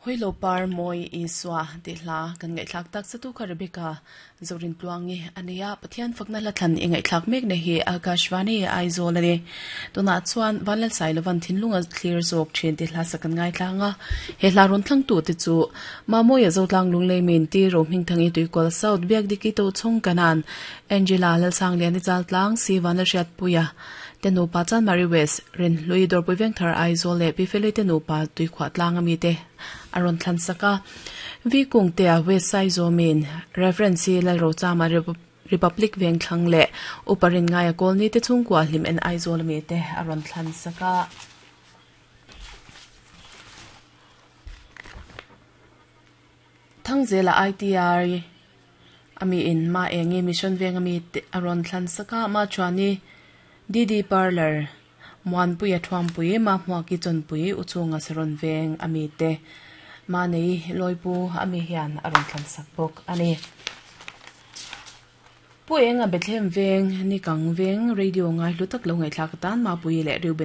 Huilo par mawi Isua tih hla kan ngaihthlak tak chatu kha Rebecca Zorin Tluangi a nei a, Pathian fakna hla thlan i ngaihthlak mek na hi Akashvani Aizawl a ni. Tunah chuan Vanlalsailovan thinlunga thlir zawk thin tih hla sak kan ngaithlang a, he hla rawn thlangtu te chu Mamawia Zotlang Lunglei Min Ti Rohmingthangi Tuikual South Biakdiki Tochhawng Kanan Angela Lalsangliani Chaltlang Si Vanlalhriatpuia te nupa chuan Mary West, Rinhlui, Dawrpui Vengthar, Aizawl leh Pi Felui te nupa Tuikhuah tlang ami te a rawn thlan sak a. Vi Kungtea, West Saizawmin, Rev. C. Lalrochama, Republic Vengthlang leh Upa Rinngaia Kawlni te chhungkua hlim en Aizawl ami te a rawn thlan sak a. Thangzela ITR ami in ma eng i Mission Veng ami te a rawn thlan sak a, ma chuan i DD Parlour Muanpuia Thuampui ma Hmuaki Chawnpui Uchhunga Saron Veng ami te ma nei Lawipu ami hian a rawn thlan sak bawk a ni. Pu Enga Bethlehem Veng Nikang Veng Radio ngai hlu tak lo ngaihthlak atan Mapuii leh Reuben.